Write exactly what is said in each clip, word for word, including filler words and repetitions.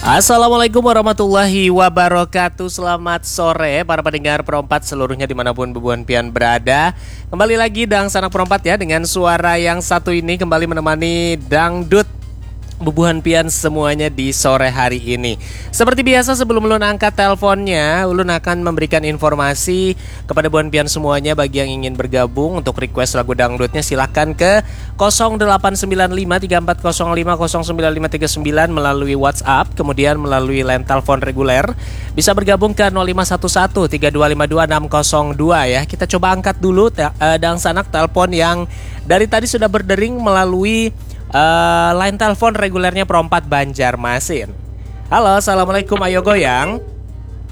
Assalamualaikum warahmatullahi wabarakatuh. Selamat sore para pendengar Perompat seluruhnya dimanapun bubuhan pian berada. Kembali lagi Dang Sanak Perompat ya dengan suara yang satu ini kembali menemani dangdut bubuhan pian semuanya di sore hari ini. Seperti biasa sebelum ulun angkat teleponnya, ulun akan memberikan informasi kepada bubuhan pian semuanya bagi yang ingin bergabung untuk request lagu dangdutnya silahkan ke kosong delapan sembilan lima tiga empat kosong lima kosong sembilan lima tiga sembilan melalui WhatsApp, kemudian melalui line telepon reguler bisa bergabung ke nol lima satu satu tiga dua lima dua enam kosong dua ya. Kita coba angkat dulu te- eh, dangsanak telepon yang dari tadi sudah berdering melalui eh, line telepon regulernya Perompat Banjarmasin. Halo, assalamualaikum. Ayo goyang.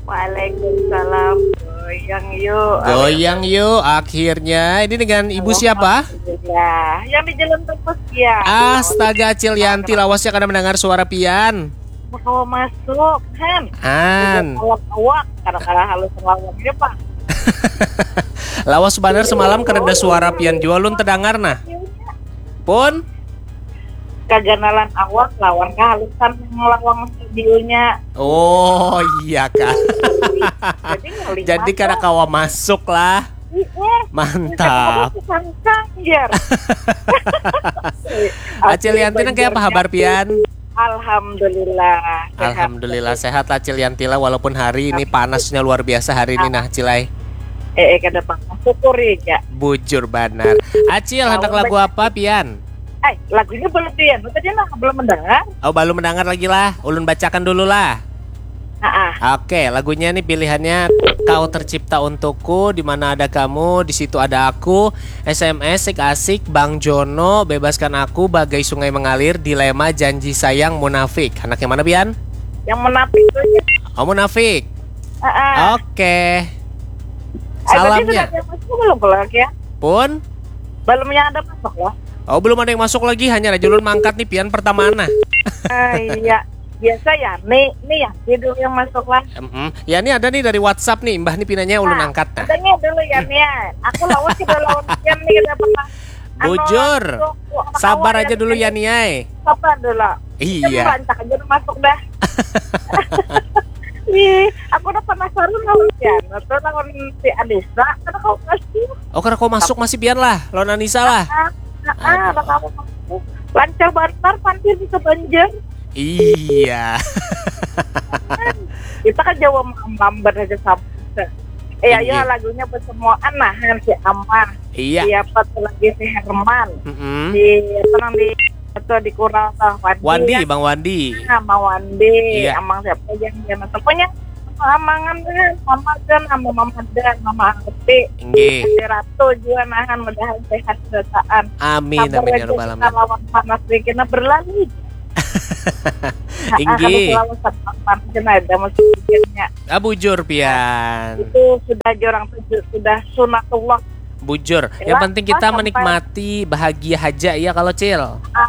Waalaikumsalam. Goyang yuk. Goyang yuk. Akhirnya ini dengan ibu siapa? Ya, yang di jalan terus ya. Astaga, Acil Yanti lawasnya karena mendengar suara pian. Mau masuk, Han. Han. Kalau awak, kadang-kadang halus lawangnya pak. Lawas banar semalam karena suara pian jua lun terdengar nah. Pun kaganalan awak lawan kehalusan lawang studionya. Oh iya kak. Jadi, jadi kada kawa masuk lah. Iya. Mantap. Sangkang jar. Acil Yanti nang kayak apa habar pian? Alhamdulillah. Alhamdulillah sehat lah Acil Yanti lah walaupun hari ini panasnya luar biasa hari ini nah Cilai. Eh, eh kada panas syukuri ya. Bujur banar. Acil hendak lagu apa pian? Eh, lagunya belum pian. Tadi nah belum mendengar. Oh, belum mendengar lagi lah. Ulun bacakan dulu lah. Ah, Oke, lagunya nih pilihannya Kau Tercipta Untukku, Di Mana Ada Kamu, Di Situ Ada Aku, S M S, Sik Asik, Bang Jono, Bebaskan Aku, Bagai Sungai Mengalir, Dilema, Janji Sayang, Munafik. Anak yang mana pian? Yang munafik tuh ya. Oh, Munafik. Ah, ah. Oke. Eh, berarti Salamnya. Sudah ada masuk belum kalau ya? Pun? Belum yang ada masuk loh. Oh, belum ada yang masuk lagi, hanya Rajulun mangkat nih pian pertama nah. Ah, iya. Biasa ya, nih, nih ya, dia dulu yang masuk lah. Mm-mm. Ya ini ada nih dari WhatsApp nih, Mbah nih pinanya ulun Nah, angkat nah. Katanya dulu ya nih ya. Aku lawan sudah lawan pian nih kita pernah. Anu, Bujur. aku- aku Sabar kawan aja ya, dulu nih. Yani ai. Sabar dulu. Iya. Rancak aja udah masuk dah. Ih, aku udah penasaran lawan pian. Atau lawan si Anissa, karena kau masih. Oh, karena kau masuk masih pian lah, lawan Anissa lah. Ah, ah, ah, Aduh. Anak kamu masuk. Lancar banget, pantir bisa banjir. Iya. Kita kan Jawa lambat aja sama. Eh, ayo Inggih. Lagunya bersemuaan nah, si Amah. Iya. Siapa tuh lagi si Herman. Mm-mm. Di apa nang di atau di Kural tuh Wandi. Wandi, Ya. Bang Wandi. Nah, Bang Wandi, Iya. Amang siapa yang dia masuk. Pokoknya Amangan kan, Mama kan, sama Mama dan Mama Angti. Inggih. Si Ratu juga nahan mudahan sehat berataan. Amin, Sabar amin ya aja rabbal kita alamin. Lawan panas dikit nah berlalu. Inggih. Kalau lawan panas kan ada musiknya. Ah, bujur pian. Itu sudah jorang tujuh, sudah sunatullah. Bujur. Jelas, Yang penting kita sampai- menikmati bahagia aja ya kalau Cil. Ah,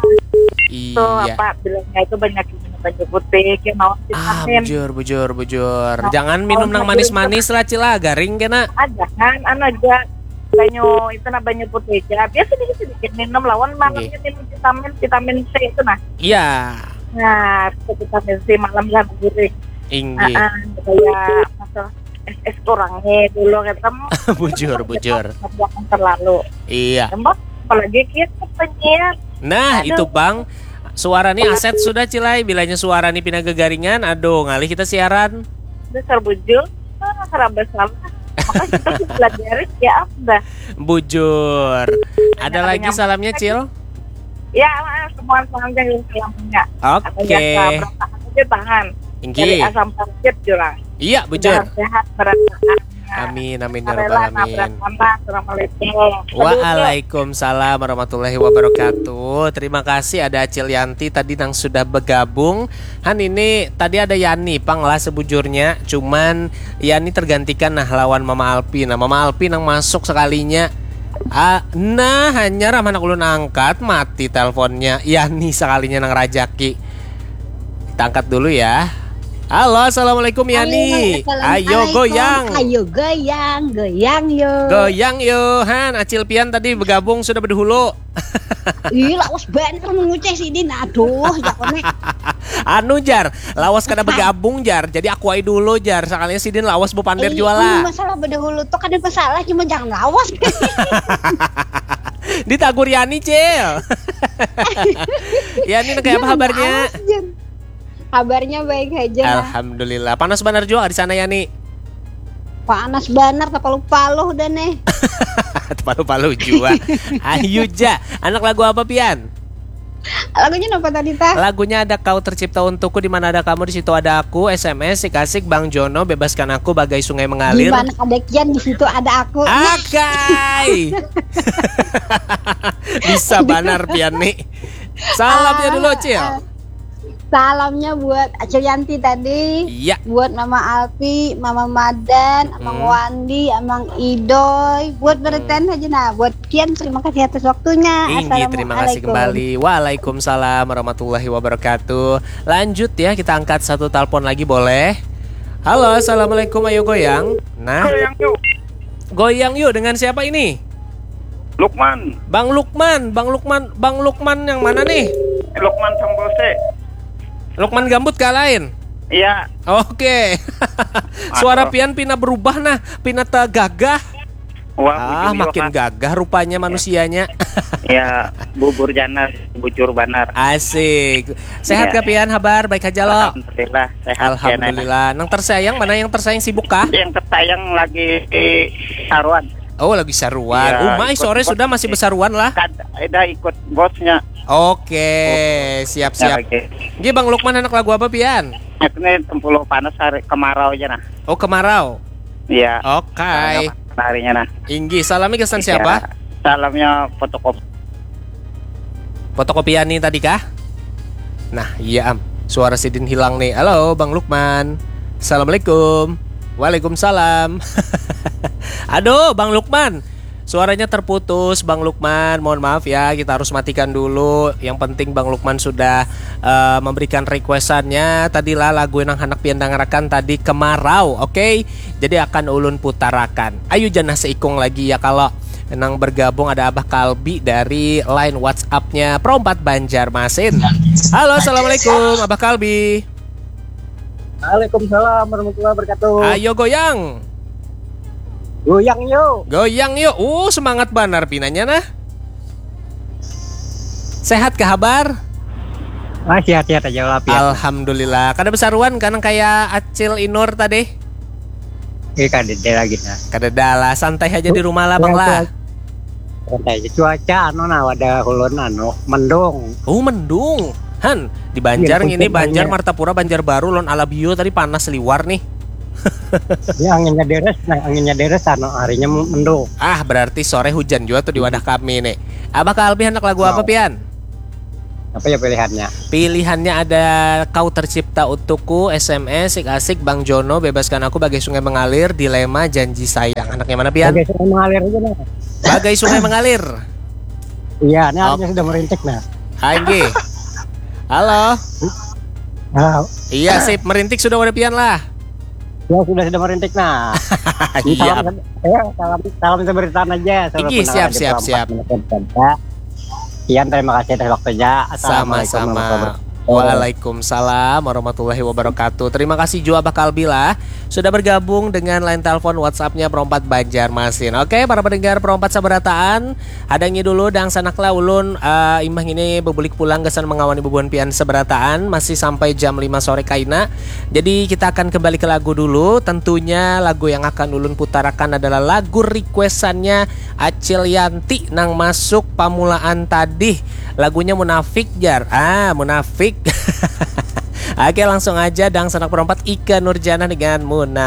itu Iya. Apa bilangnya itu banyak minum banyu putih, ya mau Ah, vitamin. Bujur, bujur, bujur. Nah, Jangan minum kalau nang Bujur manis-manis lah Cil lah, garing kena. Ah, jangan, anu aja banyu itu nah banyu putih aja. Biasa sedikit sedikit minum lawan malamnya minum vitamin vitamin C itu nah. Iya. Nah, itu vitamin C malam lah guring. Inggih. Ah, ah, kayak masuk S S kurangnya dulu kan kamu Bujur, bujur. Jangan terlalu. Iya. Tembak apalagi kita penyiar. Nah, Aduh. Itu Bang. Suara nih aset sudah Cilai. Bilanya suara nih pindah gegaringan, aduh ngalih kita siaran. Dasar bujur. Ah, seraba salah. Maka kita sih pelajari ya apa? Bujur. Ada Ada lagi nyambung salamnya lagi. Cil? Ya, ah, semua salam yang salamnya. Oke. Biasa berantakan aja tahan. Dari Inggih. Asam Parkit jurang. Iya, bujur. Sehat berantakan. Amin, amin ya rabbal Alhamdulillah, alamin. Assalamualaikum. Waalaikumsalam warahmatullahi wabarakatuh. Terima kasih ada Acil Yanti tadi yang sudah bergabung. Han ini tadi ada Yani pang lah sebujurnya. Cuman Yani tergantikan nah lawan Mama Alpi. Nah Mama Alpi nang masuk sekalinya. Ah, nah hanya ramah ulun angkat mati teleponnya. Yani sekalinya nang rajaki. Kita angkat dulu ya. Halo, assalamualaikum Yani. Assalamualaikum. Ayo goyang. Ayo goyang, goyang yo. Goyang yo, Han. Acil Pian tadi bergabung sudah berdahulu. Ih, lawas banget menguceh sini. Aduh, ya konek. Anu jar, lawas kada bergabung jar. Jadi aku ai dulu jar. Sekalinya sidin lawas bepander Eh, jua mun lah. Masalah beda hulu tuh kada masalah, cuma jangan lawas. Ditagur Yani, Cil. Yani, kayak apa Jangan kabarnya? Lawas, Jen. Kabarnya baik aja nah. Alhamdulillah. Panas benar juga di sana, Yani. Panas benar, tapalu-palu udah nih. Palu-palu juga. Ayu ja. Anak lagu apa, Pian? Lagunya apa tadi tah? Lagunya ada Kau Tercipta Untukku, di mana ada kamu, di situ ada aku, S M S, Sik Asik, Bang Jono, Bebaskan Aku, Bagai Sungai Di Mengalir. Mana ada Kian, di situ ada aku. Akai. Bisa banar, Pian, nih. Salamnya Ah, dulu, Cil. ah. Salamnya buat Acil Yanti tadi. Iya. Buat Mama Alpi, Mama Madan, Amang Hmm. Wandi, Amang Idoy. Buat Hmm. Berten aja nah. Buat Kian, terima kasih atas waktunya. Inggih, terima kasih Assalamualaikum. Kembali. Waalaikumsalam warahmatullahi wabarakatuh. Lanjut ya, kita angkat satu telepon lagi, boleh? Halo, assalamualaikum, ayo goyang. Nah, Goyang yuk. Goyang yuk, dengan siapa ini? Lukman. Bang Lukman, Bang Lukman, Bang Lukman yang mana nih? Lukman Sambose. Lukman Gambut kah lain? Iya. Oke. Suara Pian pina berubah nah, pina tegagah. Wah, Ah, ujung makin juga. Gagah rupanya manusianya. Ya, bubur janar, bujur banar. Asik. Sehat Iya. Kak Pian, habar baik aja lo. Alhamdulillah, sehat. Alhamdulillah. Nang tersayang mana, yang tersayang sibuk kah? Yang tersayang lagi saruan. Oh, lagi saruan. Iya, Umai ikut sore bos. Sudah masih besaruan lah. Kad, ada ikut bosnya. Oke, siap-siap. Oke. Gih, Bang Lukman, anak lagu apa, Pian? Ini tempuluh panas hari kemarau aja nah. Oh, kemarau. Iya. Oke. Harinya nah. Inggih, salamnya kesan siapa? Salamnya fotokopi. Fotokopiani tadi kah? Nah, iya am. Suara sidin hilang nih. Halo, Bang Lukman. Assalamualaikum. Waalaikumsalam. Aduh, Bang Lukman. Suaranya terputus, Bang Lukman. Mohon maaf ya, kita harus matikan dulu. Yang penting Bang Lukman sudah uh, memberikan requestannya. Tadilah lagu yang anak pian dangarakan tadi, Kemarau, oke? Okay? Jadi akan ulun putarakan. Ayu janah seikung lagi ya, kalau nang bergabung ada Abah Kalbi dari line WhatsApp-nya Perompat Banjarmasin. Halo, assalamualaikum Abah Kalbi. Waalaikumsalam warahmatullahi wabarakatuh. Ayo goyang. Goyang yuk. Goyang yuk. Uh, semangat banar pinanya nah. Sehat ke habar? Ah, sehat-sehat aja lah, Pian. Alhamdulillah. Kada besaruan kan kayak Acil Inur tadi? Eh, kada ada lagi nah. Kada ada lah, santai aja di rumah lah, Bang lah. Santai aja. Cuaca anu nah, ada hulun anu, mendung. Oh, mendung. Han, di Banjar Iya, ini, hujan Banjar, ya. Martapura, Banjarbaru, lawan Alabio tadi panas liwar nih. Ini anginnya deres, nah, anginnya deres anu, harinya mendung. Ah, berarti sore hujan juga tuh di wadah kami nih. Abah Kalbi, anak lagu apa, Mau. Pian? Apa ya pilihannya? Pilihannya ada Kau Tercipta Untukku, S M S, Sik Asik, Bang Jono, Bebaskan Aku, Bagai Sungai Mengalir, Dilema, Janji Sayang. Anaknya mana, Pian? Oke, saya mengalir aja nah. Bagai Sungai Mengalir. Iya, ini Oke. Arnya sudah merintik nah. Hai, Nggih. Halo. Nah, Iya, sip. Merintik sudah wadah pian lah. ya sudah sudah merintik nah. Iya. Salam, ya, salam, salam seberitaan aja. Salam Iki, pendengar siap, Radio siap, Perempat siap. Menekan Tenda. Kian, terima kasih atas waktunya. Assalamualaikum Sama-sama. warahmatullahi wabarakatuh. Waalaikumsalam warahmatullahi wabarakatuh. Terima kasih juga Abah Kalbi lah sudah bergabung dengan line telepon WhatsApp-nya Perompat Banjarmasin. Oke, para pendengar Perompat sabarataan, hadangi dulu dangsanak lah ulun, eh, imbah ini bebulik pulang gasan mengawani bubuhan pian sabarataan, masih sampai jam lima sore kaina. Jadi kita akan kembali ke lagu dulu. Tentunya lagu yang akan ulun putarakan adalah lagu requestannya Acil Yanti nang masuk pamulaan tadi. Lagunya Munafik, jar. Ah, Munafik. Oke, langsung aja dangsanak Perompat, Ika Nurjana dengan Munafik.